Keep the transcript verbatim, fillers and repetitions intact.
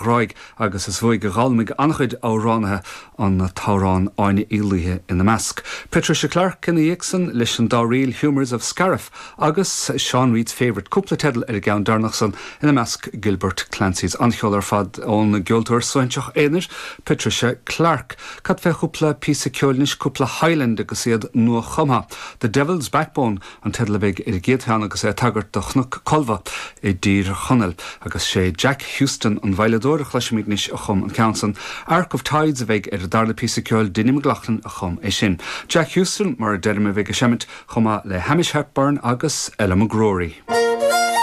Ghráig agus is uaidh a d'fhoghlaim an-chuid amhránaithe an t-amhrán Áine Uí Laoithe ina measc. Patricia Clarke ina dhiaidh san leis an dá ríl Humours of Scariff agus Sean Reid's Favourite cúpla teideal ar an gceann deireanach san ina measc Gilbert Clancy's an-cheol ar fad ón gceoltóir suaithinseach aonair Patricia Clarke. Cad fé chúpla píosa ceoil anois cúpla Highland agus iad nuachumtha. The Devil's Backbone an teideal a bheidh ar an gcéad cheann agus é ag tagairt do Chnoc Colbha i dTír Chonaill agus sé Jack Houston an veidhleadóir a chloisfimid anois a chum an ceann san. Ark of Tides a bheidh ar an darna píosa ceoil Dinny McLaughlin a chum é sin. Jack Houston mar a deirim a bheidh ag seimint chomh maith le Hamish Hepburn agus Ella McGrory.